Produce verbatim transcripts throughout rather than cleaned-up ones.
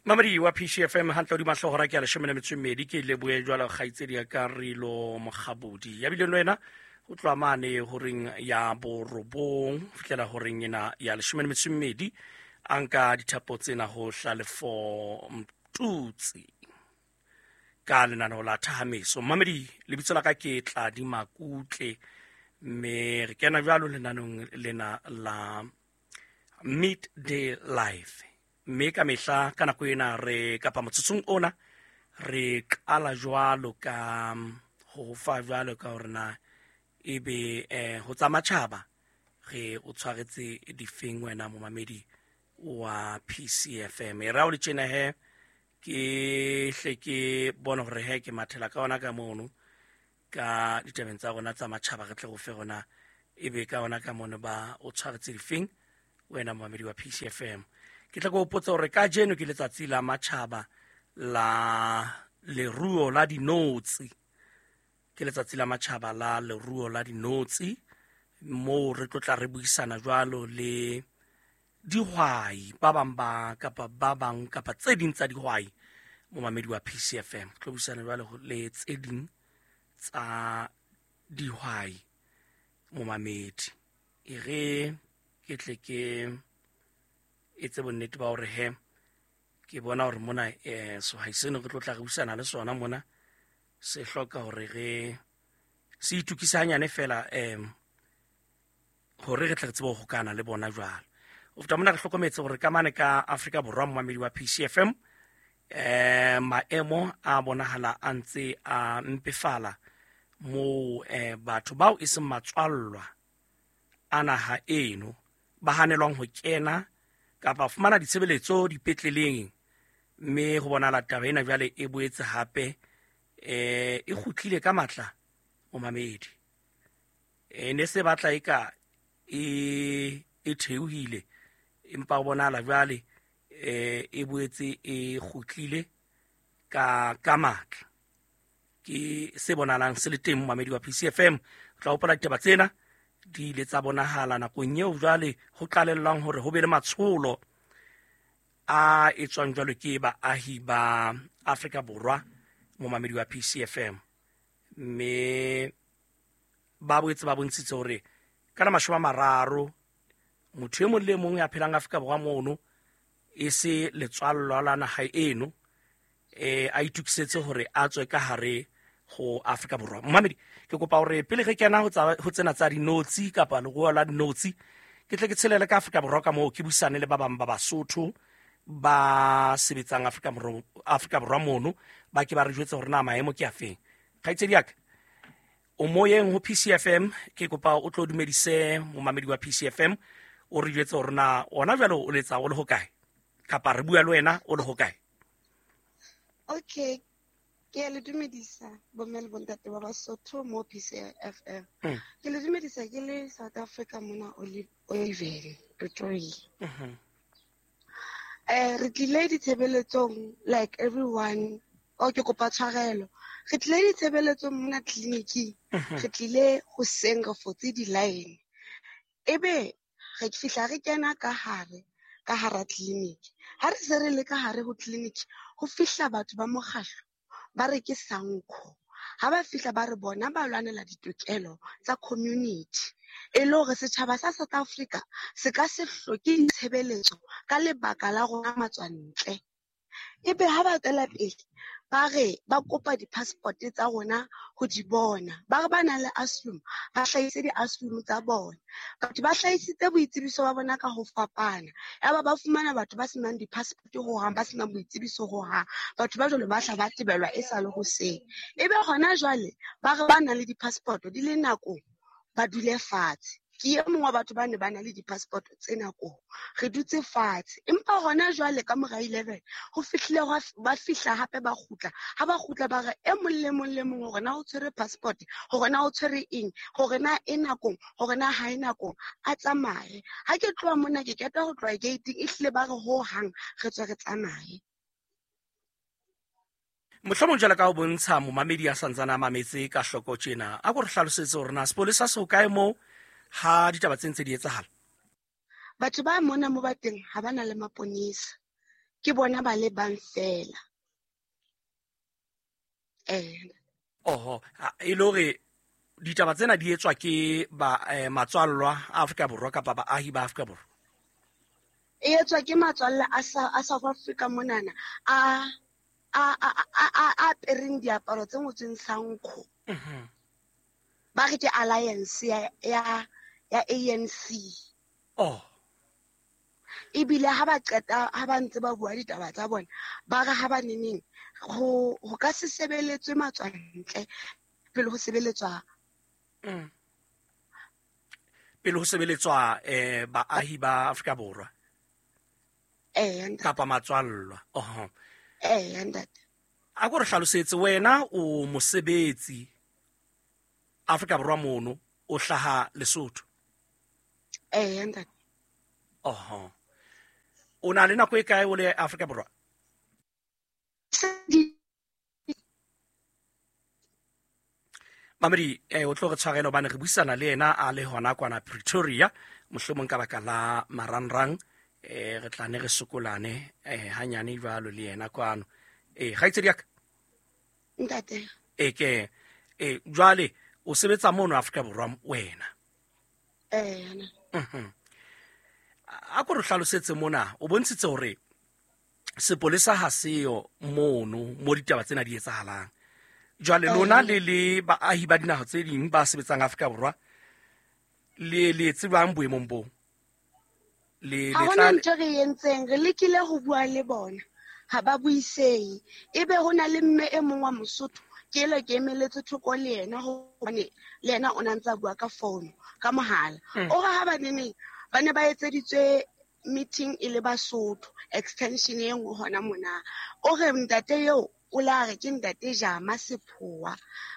Mamedi wa P C F M hantle hodima hlooho hora ke ya leshome le metso e mmedi, ke lebohe jwalo kgaitsedi ya ka Rilo Mokgabodi. Ya bileng le wena ho tloha mane horeng ya borobong ho fihlela horeng ena ya leshome le metso e mmedi, a nka dithapo tsena ho Hlalefo Mtutsi ka lenaneo la Thahameso. Mamedi, lebitso la ka ke Tladi Makutle, mme re kena jwalo lenaneong lena la Midday Live. Mme ka mehla ka nako ena re kapa motsotsong ona re qala jwalo ka ho fa jwalo ka hore na ebe eh ho tsa matjhaba re o tshwaretse difeng wena momamedi wa P C F M. E ra o le tjena he ke hle ke bona hore he ke mathela ka ona ka mono ka ditabeng tsa rona tsa matjhaba, re tle go fe rona ebe ka ona ka mono ba o tshwaretse difeng wena momamedi wa P C F M. Ke tla go potsa hore kajeno ke letsatsi la matjhaba la leruo la dinotshi. Ke letsatsi la matjhaba la leruo la dinotshi, moo re tlo tla re buisana jwalo le dihwai ba bang ba kapa ba bang kapa tse ding tsa dihwai momamedi wa P C F M. Tlo buisana jwalo le tse ding tsa dihwai momamedi. E re ke tle ke etse bonnete ba hore he ke bona hore mona eh sehwai seno re tlo tla re buisana le sona mona se hloka hore re se itukise hanyane fela em hore re tle re tsebe ho hokana le bona jwalo. Ho feta mona re hlokometse hore ka mane ka Afrika Borwa momamedi wa P C F M eh maemo a bonahala a ntse a mpefala moo eh batho bao e seng matswallwa a naha eno ba hanelwang ho kena kapa fumana ditshebeletso dipetleleng, mme ho bonahala taba ena jwale e boetse hape eh e kgutlile ka matla momamedi. E ne se batla e ka e e theohile, empa ho bonahala jwale eh e boetse e kgutlile ka ka matla. Ke se bonahalang se le teng momamedi wa P C F M. O tla hopola ditaba tsena di ile tsa bonahala nakong eo jwale ho qalellwang hore ho be le matsholo a etswang jwalo ke baahi ba Afrika Borwa momamedi wa P C F M. Mme ba boetse ba bontshitse hore ka la mashome a mararo motho e mong le mong ya phelang Afrika Borwa mono e se letswallwa la naha eno eh a itukisetse hore a tswe ka hare ho Afrika Borwa. Momamedi, ke kopa hore pele re kena ho tsa ho tsena tsa dinotshi kapa leruo la dinotshi, ke tle ke tshelele ka Afrika Borwa ka moo ke buisane le ba bang ba Basotho ba sebetsang Afrika Borwa Afrika Borwa mono, ba ke ba re jwetse hore na maemo ke afeng. Kgaitsedi ya ka, o moyeng ho P C F M, ke kopa o tlo dumedise momamedi wa P C F M, o re jwetse hore na ona jwale o letsa o le hokae kapa re bua le wena o le hokae. Okay, ke a le dumedisa bomme le bontate ba Basotho mo P C F M. Mm. Ke le dumedisa ke le South Africa mona Oliveri, Pretoria. Mhm. Eh re tlile ditshebeletsong like everyone, o ke kopa tshwarelo. Re tlile ditshebeletsong mona tleliniking. Mhm. Re tlile hoseng re fotse di-line. Ebe re fihla re kena ka hare, ka hara tleliniki. Ha re se re le ka hare ho tleliniki, ho fihla batho ba mokgahlo ba re ke Sanco. Ha ba fihla ba re bona ba lwanela ditokelo tsa community. E le hore setjhaba sa South Africa se ka se hloke ditshebeletso ka lebaka la rona matswantle. Ebe ha ba tswela pele ba re ba kopa di-passport tsa rona ho di bona. Ba re ba nang le asylum, ba hlahise di-asylum tsa bona. Batho ba hlahisitse boitsebiso ba bona ka ho fapana. Yaba ba fumana batho ba senang di-passport hohang, ba senang boitsebiso hohang. Batho ba jwalo ba hla ba tebelwa e sa le hoseng. Ebe hona jwale ba re ba nang le di-passport di le nakong, ba dule fatshe. Ke e mong wa batho ba ne ba na le di-passport tse nakong. Re dutse fatshe. Empa hona jwale ka mora eleven, ho fihlile hwa f-, ba fihla hape ba kgutla. Ha ba kgutla ba re e mong le mong le mong hore na o tshwere passport, hore na o tshwere eng, hore na e nakong, hore na ha e nakong, a tsamaye. Ha ke tloha mona ke qeta ho tloha gate-ing, ehlile ba re hohang re tswe re tsamaye. Mohlomong jwalo ka ho bontsha momamedi ya santsane a mametse ka hloko tjena, a ko re hlalosetse hore na sepolesa se hokae moo ha ditaba tse ntse di etsahala? Batho ba mona mo ba teng ha ba na le maponesa. Ke bona ba le bang fela. Eh. Oho, e le hore ditaba tsena di etswa ke ba eh, matswallwa a Afrika Borwa kapa baahi ba Afrika Borwa? E etswa ke matswalla a a South Africa monana a a a a a apereng diaparo tse ngotsweng Sankho. Mhm. Ba re ke alliance ya ya ya A N C. Oh. Ebile ha ba qeta ha ba ntse ba bua ditaba tsa bona, ba re ha ba neneng ho ho ka se sebeletswe matswantle pele ho sebeletswa mm. pele ho sebeletswa eh baahi ba Afrika Borwa. Eh, kapa matswallwa. Oho. Eh, ntate. A ko re hlalosetse wena o mosebetsi Afrika Borwa mono, o hlaha Lesotho. Eh, ntate. Oho. O na le nako e kae o le Afrika Borwa? Mamedi, eh o tlo re tshwarela hobane re buisana le yena a le hona kwana Pretoria, mohlomong ka baka la marangrang, eh re tla ne re sokolane eh hanyane jwalo le yena kwano. Eh kgaitsedi ya ka? Ntate. Eh ke eh jwale o sebetsa mono Afrika Borwa wena? Eh. Mhm. A ko re hlalosetse mona, o bontshitse hore sepolesa ha seo mono mo ditaba tsena di etsahalang. Jwale lona le le baahi ba dinaha tse ding ba sebetsang Afrika Borwa le le tsebang boemong bo? Le le tla ntho re entseng, re lekile ho bua le bona, ha ba buisehe. Ebe ho na le mme e mong wa Mosotho, ke ele ke emeletse thoko le yena hobane le yena o na ntsa bua ka phone, ka mohala. O re ha ba neneng ba ne ba etseditswe meeting e le Basotho, extension e nngwe hona mona. O re ntate eo o la re ke ntate Jama Sephoa,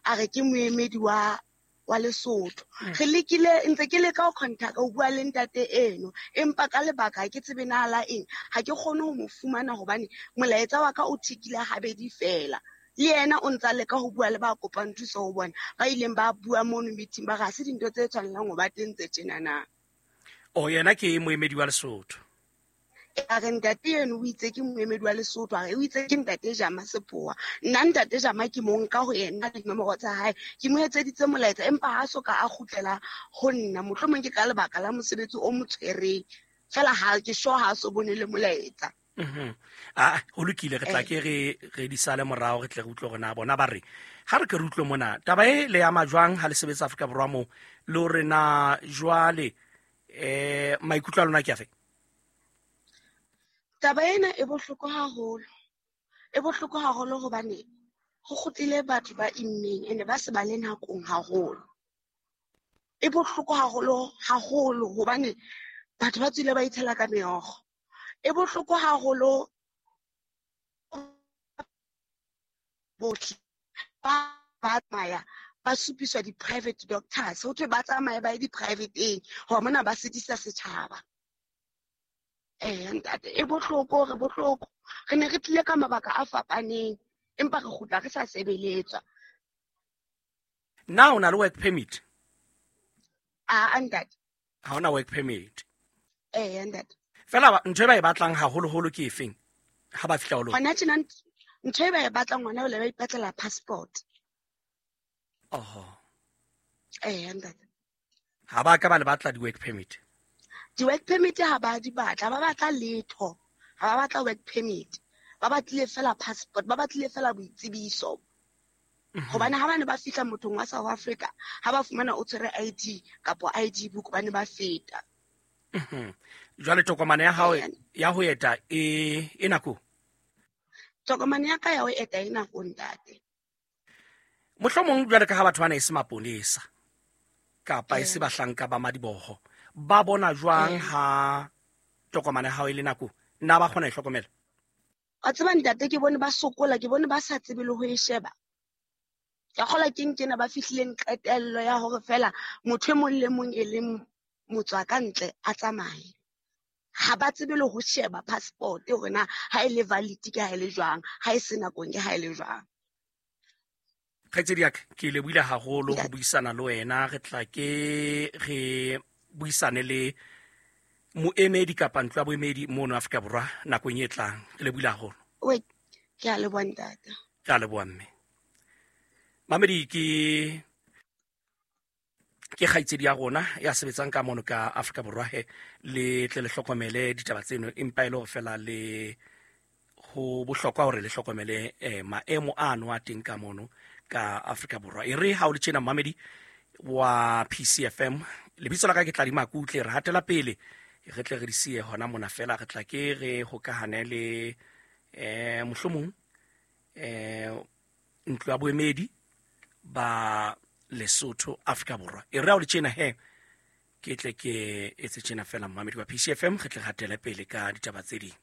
a re ke moemedi wa wa Lesotho. Re lekile ntse ke leka ho contact ho bua le ntate eno, empa ka lebaka ha ke tsebe na la eng, ha ke kgone ho mo fumana hobane molaetsa wa ka o thikile habedi fela. Le yena o ntsa leka ho bua le ba kopang thuso ho bona, ba ileng ba bua mono meeting ba re ha se dintho tse tshwanelang ho ba teng tse tjena na. O yena ke moemedi wa Lesotho. A re ntate eno o itse ke moemedi wa Lesotho, a re o itse ke ntate Jama Sephoa. Nna ntate Jama ke mo nka ho yena dinomoro tsa hae, ke mo etseditse molaetsa empa ha so ka a kgutlela ho nna. Mohlomong ke ka lebaka la mosebetsi o mo tshwereng fela, ha ke sure ha so bone le molaetsa. Mhm. Ah, ho lokile, re tla ke re re di sale morao, re tle re utlwe hore na bona ba re ha re ke re utlwe mona taba e le ama jwang ha le sebetsa Afrika Borwa mo, le hore na jwale eh maikutlo a lona ke afe? Taba ena e bohloko haholo. E bohloko haholo hobane ho kgutlile batho ba immeng ene ba se ba le nakong haholo. E bohloko haholo haholo hobane batho ba tswile ba itshela ka meokgo. E bohloko haholo bohle ba ba tsamaya ba supiswa di-private doctors, ho thwe ba tsamaye ba ye di-private-eng hore mona ba sitisa setjhaba. Eh ntate, e bohloko, re bohloko. Re ne re tlile ka mabaka a fapaneng, empa re kgutla re sa sebeletswa. Na o na le work permit? Ah, ntate. Ha ona work permit? Eh, ntate. Fela ntho e ba e batlang haholoholo ke efeng ha ba fihla ho lona? Hona tjena ntho e ba e batlang hona jwale ba ipatlela passport. Oho. Eh, ntate. Ha ba ka ba le batla di-work permit? Di-work permit ha ba di batla, ba batla letho. Ha ba batla work permit. Ba batlile fela passport, ba batlile fela boitsebiso. Hobane ha ba ne ba fihla mothong wa South Africa, ha ba fumana o tshwere I D kapa I D book, ba ne ba feta. Mhm. Jwale tokomane ya hao ya ho eta e e nako? Tokomane ya ka ya ho eta e nako ntate. Mohlomong jwale ka ha batho bana e se maponesa kapa e se bahlanka ba madiboho, ba bona jwang ha tokomane ya hao e le nako? Na ba kgona e hlokomela? A tseba ntate, ke bone ba sokola, ke bone ba sa tsebe le ho e sheba. Ka kgola ke nkena ba fihlileng qetello ya hore fela motho e mong le mong e leng motswa ka ntle a tsamaye. Ha ba tsebe le ho sheba passport hore na ha e le valid ke ha e le jwang, ha e se nakong ke ha e le jwang. Kgaitsedi ya ka, ke lebohile haholo ho buisana le wena. Re tla ke re buisane le Moemedi kapa ntlo ya boemedi mono Afrika Borwa nakong e tlang. Re lebohile haholo. Oe, ke a leboha ntate. Ke a leboha mme. Mamedi ke ke kgaitsedi ya rona ya sebetsang ka mono ka Afrika Borwa he, le tle le hlokomele ditaba tseno, empa e le hore fela le ho bohlokwa hore le hlokomele eh, maemo ano a teng ka mono ka Afrika Borwa. E re ha o le tjena mamedi wa P C F M, lebitso la ka ke Tladi Makutle, re hatela pele re tle re di siye hona mona fela, re tla ke re hokahane le eh mohlomong eh ntlo ya boemedi ba Lesotho Afrika Borwa. E re ha o le tjena he, ke tle ke etse tjena fela mamedi wa P C F M, re tle re hatele pele ka ditaba tse ding.